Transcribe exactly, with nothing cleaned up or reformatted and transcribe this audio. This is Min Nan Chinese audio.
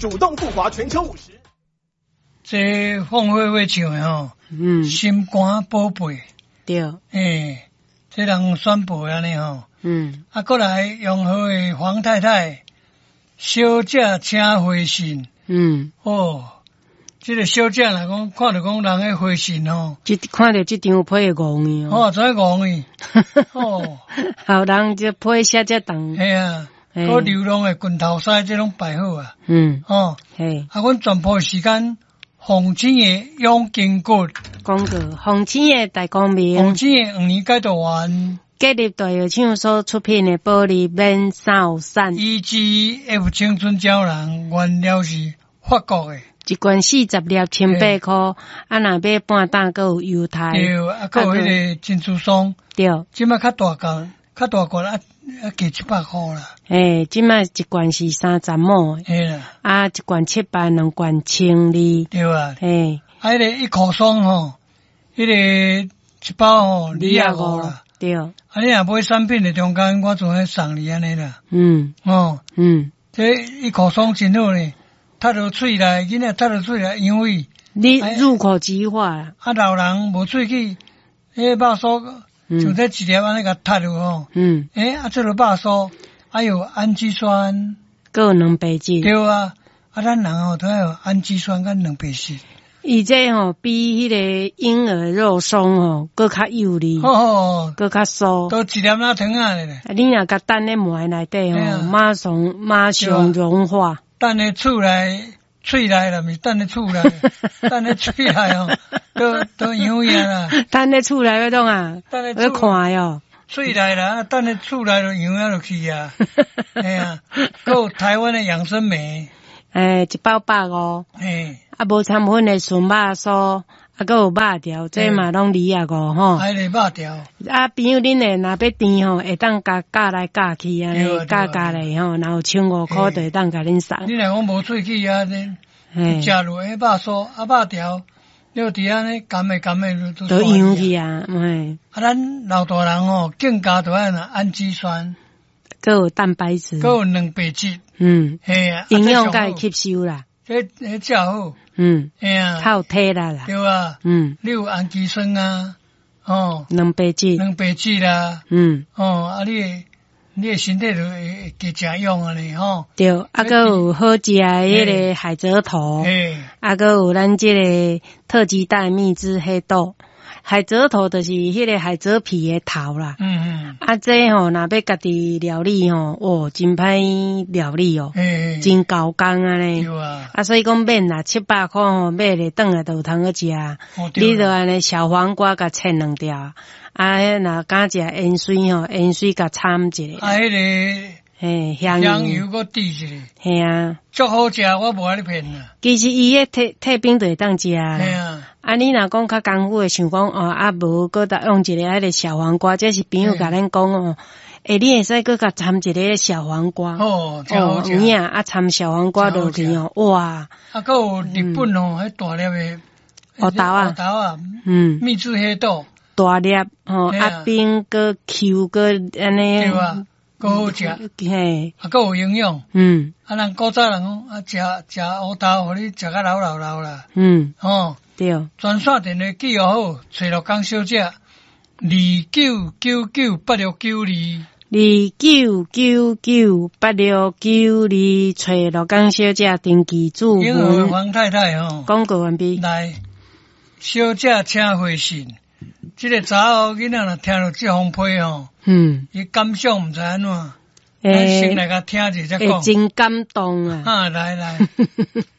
主動復華全球五十。這鳳飛飛唱的吼，嗯，心肝寶貝，對，欸，這人宣布按呢吼，嗯，啊，過來永和的黃太太，小姐請回信，嗯，哦，這個小姐若講看著講人的回信吼，這看著這張批會戇去哦，怎會戇去？哦，後人這批寫這長，嘿啊，閣流浪的拳頭師這攏擺好啊，嗯，哦，嘿，啊，阮全部時間。鳳青的養筋骨，廣告，鳳青的大光明，鳳青的黃連解毒丸，國立大藥廠所出品的保利免三有散，E G F 青春膠囊，原料是法國的，一罐四十粒，千八箍，啊，若買半擔，閣有優待，對，啊，閣有彼個珍珠霜，對，這擺較大罐，較大罐啊啊加七百箍啦，欸，這擺一罐是三十毫，嘿啦，啊，一罐七百，兩罐千二，對啊，嘿，啊，彼個一顆霜吼，彼個一包吼二十五啦，對，啊，你若買產品的中間，我就會送你按呢啦，嗯，哦，嗯，這一顆霜真好呢，塞入喙內，囡仔塞入喙內，因為你入口即化，啊，老人無喙齒，彼個肉酥。像這一粒按呢共塞入吼，嗯，欸，啊，這个肉酥，還有氨基酸，閣有蛋白質，對啊，啊，咱人吼都愛有氨基酸佮蛋白質。伊這吼比彼個嬰兒肉鬆吼閣較幼膩，閣較酥，都一粒仔糖仔咧。啊，你若共等咧糜內底吼，馬上馬上融化。等咧厝內。喙內啦，毋是等咧厝內，等咧喙內吼，都都營養啦。等咧厝內欲創啊？等咧欲看喲。喙內啦，等咧厝內就營養就去啊。嘿啊，閣有台灣的養生酶。欸，一包百五。嘿。啊，無摻粉的純肉酥，啊，閣有肉條，這嘛攏二十五吼。還個肉條。啊，朋友恁的若欲甜吼，會當共加來加去按呢，加加咧吼，若有千五箍就會當共恁送。你若講無喙齒啊，你食落彼肉酥啊肉條，你佇按呢含的含的都都溶去啊，嘿。啊，咱老大人吼，更加著愛氨基酸，閣有蛋白質，閣有蛋白質，嗯，嘿啊，營養共伊吸收啦。這這食好，嗯，嘿啊，較有體力啦，對啊，嗯，你有氨基酸啊，哦，蛋白質，蛋白質啦，嗯，哦，啊你你的身體就會會加誠勇按呢吼。對，啊，閣有好食的彼個海蜇頭，啊，閣有咱這個特級大蜜汁黑豆。海蜇頭就是彼個海蜇皮的頭啦。嗯嗯。啊，這吼若欲家己料理吼，哦，真歹料理哦，真猴工按呢。對啊。啊，所以講免啦，七百箍吼買咧轉來就有通好食。你就按呢小黃瓜共切兩條，啊，若敢食芫荽吼，芫荽共摻一下。啊，彼個。嘿，香油閣滴一下。嘿啊。足好食，我無愛你騙啦。其實伊彼退退冰就會當食啦。嘿啊。啊，你若講較艱苦的，想講哦，啊無閣搭用一個彼個小黃瓜，這是朋友共咱講哦。欸，你會使閣共摻一個小黃瓜。哦，真好食。有影啊，摻小黃瓜落去哦，哇！啊，閣有日本哦，彼大粒的烏豆啊，烏豆啊，嗯，秘製黑豆，大粒吼，啊冰閣 Q 閣按呢。對啊。閣好食，嘿，啊，閣有營養，嗯，啊，人古早人講啊，食食烏豆，予你食甲老老老啦，嗯，吼，對，專線電話記號好，揣鹿港小姐，二九九九八六九二，二九九九八六九二，揣鹿港小姐登記注文。黃太太吼，廣告完畢。來，小姐請回信。這個查某囡仔若聽著這封批吼，嗯，伊感想毋知按怎，咱先來共聽者再講。會真感動啊！啊，來來。